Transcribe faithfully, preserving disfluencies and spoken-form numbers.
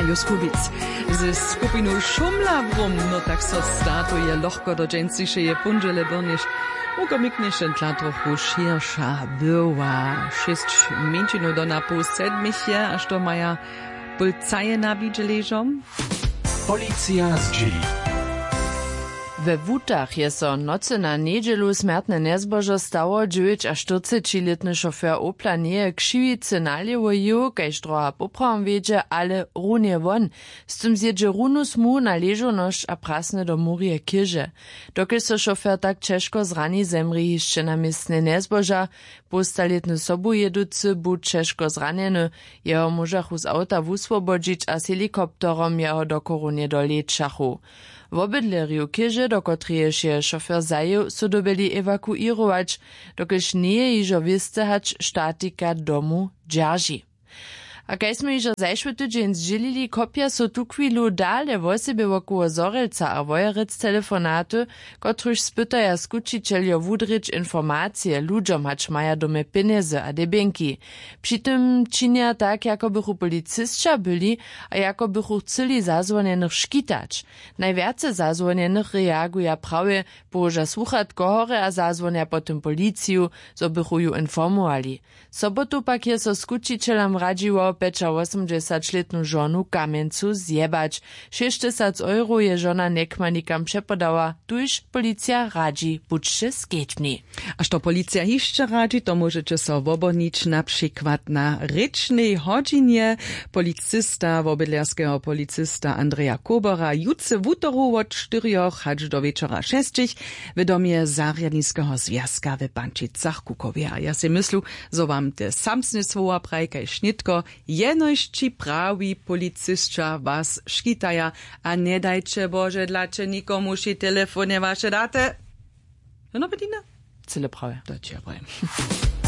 Joskubic ze skupinu Šumla wrum. No tak so startuje lochko do dźensišeje póndźele byrnjež wukomiknješe dla trochu šěrša była. Šěsć mjeńšinow do na poł sedmich je, až to maja pólcaje na widźeležom. Policija zdźěli. We wutach je so nocy na njedźelu smjertne njezbožo stało. Dźewjećaštyrcećilětny šofer opla njeje křiwicy nalěwo jěł, kaž droha poprawom wjedźe, ale runje won. Z tym zjědźe runu smu na ležownosć a prasny do murje chěže. Dokelž so šofer tak ćežko zrani, zemrě hišće na městnje njezboža. Połstalětny sobujěducy bu ćežko zranjeny. Jeho móžachu z awta wuswobodźić a z helikopterom jeho do chorownje dolečachu. Wobydlerjow chěže, do kotrejež je šofer zajěł, su dyrbjeli ewakuěrować, dokelž njeje hižo wěste, hač statika domu dźerži. A kaž smy hižo zašły tydźeń zdźělili, kopja so tuchwilu dale wosebje wokoło zhorjelca a wojerec telefonaty, kotrychž spytaja skućićeljo wudrěć informacije ludźom, hač maja doma pjenjezy a debjenki. Při tym činja tak, jako bychu policisća byli a jako bychu chcyli zazwonjenych škitać. Najwjace zazwonjenych reaguja prawje, połoža słuchatko horje a zazwonja po tym policiju, zo bychu ju informowali. Sobotu pak je so skućićelam radźiło pjećawosomdźesaćlětnu žonu w Kamjencu zjebać. Šěsćtysac euro je žona njekmanikam přepodała, tuž policija radźi: budźće skedźbni. A što policija hišće radźi, to móžeće so wobhonić na přikład na rěčnej hodźinje policista, wobydlerskeho policista Andreja Kobora, jutře wutoru wot štyrjoch hač do wječora šesćich w domje zarjadniskeho zwjazka w Pančicach-Kukowje. A ja sej myslu, zo wam te samsne słowa praji kaž nětko: jenož ći prawi policisća was škitaja, a njedajće Bože dla će nikomuž telefonje waše daty. No, Bedina? Cyle prawje. To će ja prajem.